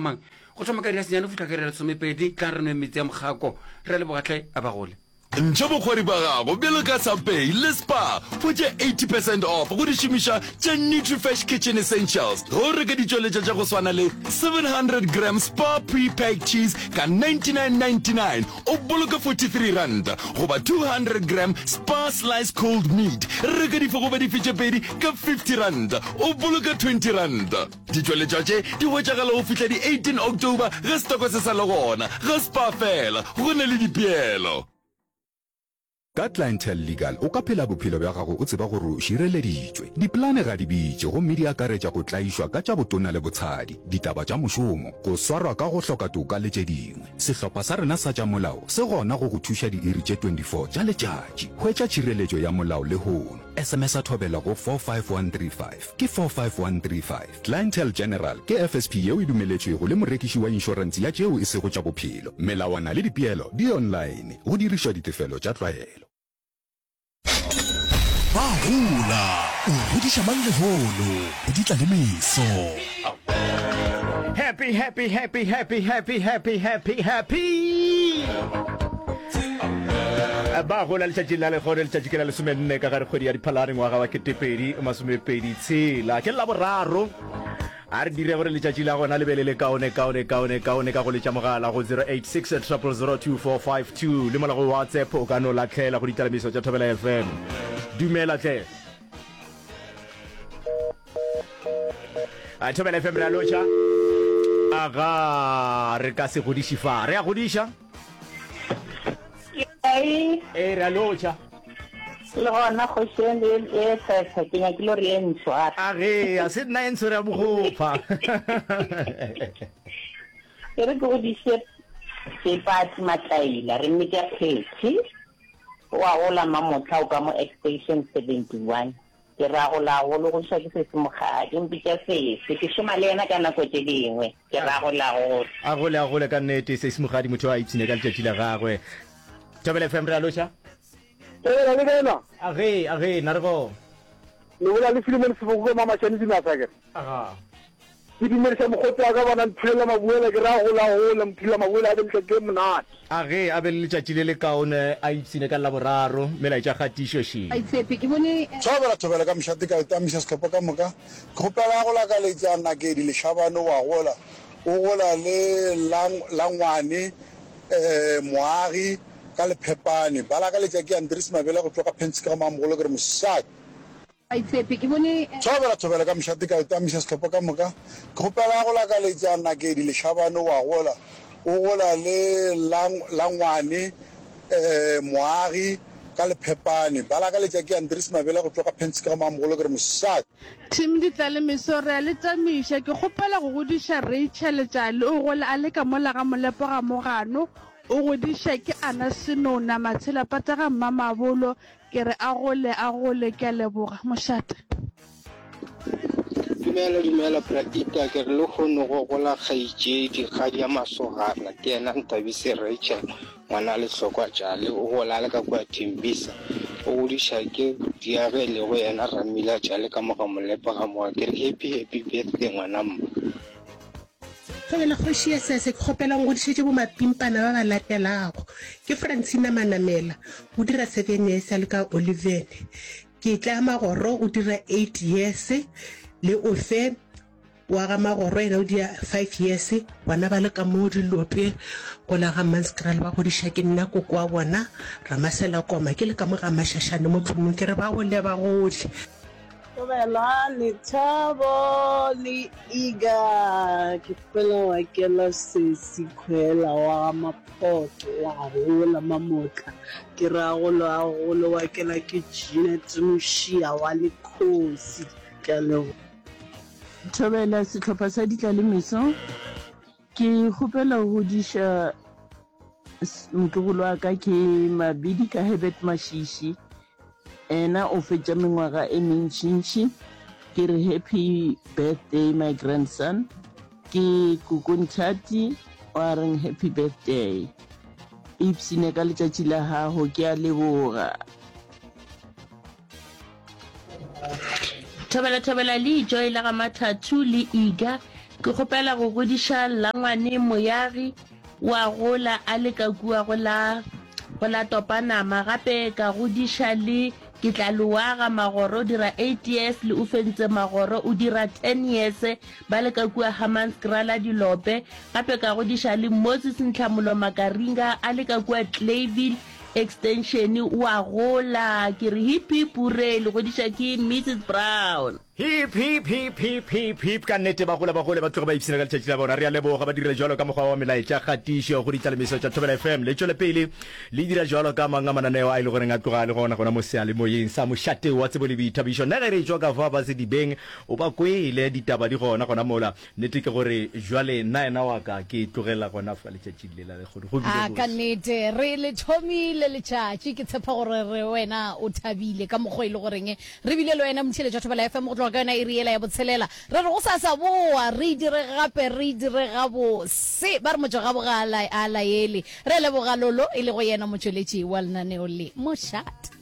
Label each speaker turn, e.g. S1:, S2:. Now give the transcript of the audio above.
S1: Mang? Go thoma ka iri ya senyane go fihla ka iri ya lesomepedi, tlang re nweng metsi a mokgako. Re a leboga hle, a ba gole.
S2: Ntšha bokgwari bja gago bjalo ka Subway le Spar, hwetša 80 percent off go dišomišwa tša Nutrifresh Kitchen Essentials ge o reka ditšweletšwa tša go swana le 700 gram Spar pre-packed cheese ka 99.99 o boloke R43 goba 200 gram Spar sliced cold meat reka dife goba dife tše pedi ka R50 o boloke R20. Ditšweletšwa tše di hwetšagala go fihla di 18 October ge setoko se sa le gona. Ga Spar fela, go na le dipeelo.
S3: Ka Clientele Legal o ka phela bophelo bja gago o tseba gore o šireleditšwe. Dipolane ga di bitše gomme di akaretša go tlaišwa ka tša botona le botshadi, ditaba tša mošomo, go swarwa ka go hloka toka le tše dingwe. Sehlopha sa rena sa tša molao se gona go go thuša diiri tše 24 tša letšatši. Hwetša tšhireletšo ya molao lehono. SMS-a Thobela go 45135. Ke 45135. Clientele General ke FSP yeo e dumeletšwego le morekiši wa inšorense ya tšeo e sego tša bophelo. Melawana le dipeelo di online, go dirišwa ditefelo tša tlwaelo.
S4: Ba gola, o godiša mang lehono, go di tla le meso.
S5: Happy, happy, happy, happy, happy, happy, happy, happy. Ba gola letšatšing la lehono, letšatši ke la lesomenne ka gare kgwedi ya Diphalane ngwaga wa 2026. Ke Laboraro. A re dire gore letšatši la gona le be le le kaone, kaone, kaone, kaone ka go letša mogala go 086 000 2452 le mola go WhatsApp o ka no lahlela go ditalamiso tša Thobela FM. Dumela tle. A Thobela FM re a lotšha. Aga re ka se godiše fa. Re a godiša.
S6: Ee.
S5: Ee re a lotšha.
S6: Le gona kgoši e e tshetsha ke nyakile gore e ntshware.
S5: A ge a se nna e ntshwere ya bogopha.
S6: E re ke godiše Seipati Matlaila re mmitša Phethy. O a gola Mamotla o ka mo Extension 71. Ke ra go la go logoša ke sesi Mokgadi, o mpitša sesi. Ke šoma le yena ka nako tše dingwe. Ke ra go la go.
S5: A gole, a gole ka nnete, sesi Mokgadi, motho a ipshine ka letšatši la gagwe. Thobela FM, re a loša.
S7: Thobela le kae na?
S5: Age, age, na re go.
S7: Le bolela le Philemon Seboko ka Mamashane Dinasa akere?
S5: Aga.
S7: Ke dumediša mokgotsi wa ka bona Mphulela Mabuela ke ra gola gola Mphulela Mabuela a be letšatši le monate.
S5: A ge a be le letšatši le lekaone a ipshine ka Laboraro, melaetša kgatišo še.
S8: Baitshepi, ke bone.
S9: Thobela thobela ka mošate ka tamisa sehlopha ka moka ke kgopela go lakaletša Nakedi Leshabane wa gola o gola le la ngwane Moagi ka Lephepane ba lakaletša ke Andries Mabele go tšwa ka Pentsika ga Mamogolo ke re mošate.
S8: Baitshepi, ke bone.
S9: Thobela thobela ka mošate ka tamisa sehlopha ka moka ke kgopela go lakaletša Nakedi Leshabane wa gola o gola le la ngwane Moagi ka Lephepane ba lakaletša ke Andries Mabele go tšwa ka Pentsika ga Mamogolo ke re mošate.
S10: Team Ditlalemeso re a le tamiša ke kgopela go godiša Rachel Tšale o gola a le ka mola ga Molepo ga Mogano o godiša ke Ana Senona Matshela Pata ga Mmamabolo Ke re a gole, a gole, ke a leboga. Mošate.
S11: Dumela dumela bra Ita ke re lehono go gola kgaetšedi kgadi ya masogana ke yena Nthabise Rachel ngwana Lehlokwa Tšale o gola a le ka kua Thembisa o godiša ke butiage e lego yena Ramila Tšale ka mo ga Molepo ga Moa ke re happy happy birthday ngwana mma.
S12: Thobela kgoši ya Sese, ke kgopela o ngodišetše bomapimpana ba ba latelago. Ke Francina Manamela, o dira seven years a le ka Olivene. Ke Tla Magoro, o dira eight years, le Ofe wa ga Magoro yena o dira five years. Bona ba le ka mo Dilope go la ga Mmanskraal ba godiša ke nna koko wa bona, Ramasela Koma, ke le ka mo ga Mashashane mo Tlhomong ke re ba gole ba gole.
S13: Thobela, Lethabo le Iga, ke kgopela wa kela sesi Khwela wa ga Maphoto wa gola Mamotla, ke ra golo a golo wa kela ke Jeanette Mošia wa Lekhosi, ke a leboga.
S14: Thobela, Sehlopha sa Ditlalemeso, ke kgopela go godiša motlogolo wa ka ke Mabidi ka Herbert Mashishi Ena o fetša mengwaga e mentšintši. Ke re happy birthday my grandson. Ke Koko Nthati wa reng happy birthday. Ipsine ka letšatši la gago, ke a leboga.
S15: Thobela thobela le Joy la ga Mathathu le Iga.
S14: Ke kgopela go godiša Langwane Moyagi wa gola a le ka kua go la go la Topanama gape ka godiša le Ketlalowagga Magoro o dira eight years le Ofentse Magoro o dira ten years ba le ka kua Hammanskraal Dilope gape ka godiša le Moses Ntlhamolo Makaringa a le ka kua Clayville Extension wa gola ke re hip hip hurray le godiša ke Mrs Brown.
S5: Hip, hip, hip, hip, hip, hip, ka nnete ba gola ba gole ba tloge ba ipshina ka letšatši la bona. Re a leboga ba dirile jwalo ka mokgwa wa melaetša kgatišo go ditlalemiso tša Thobela FM. Le tšwele pele le dira jwalo ka mang a mananeo a e le goreng a tloga a le gona gona mo seyalemoyeng sa mošate wa tsebo le boithabišo. Nna ge re etšwa ka fa ba sedibeng o ba kwele ditaba di gona gona mola. Nnete ke gore jwale nna yena wa ka ke tlogela gona fa letšatšing le la lekgono. Go bile
S15: A ka
S5: bose.
S15: nnete re le thomile letšatši. Ke tshepa gore re wena o thabile ka mokgwa e le goreng re bile le wena motheeletši wa Thobela FM go tloga ka yona iri yela ya botshelela. Re re gosasa boa re e dire gape re e dire gabose. Ba re motšwa gabo ga a laele. Re a leboga Lolo e lego yena motšweletši wa lenaneo le. Mošate.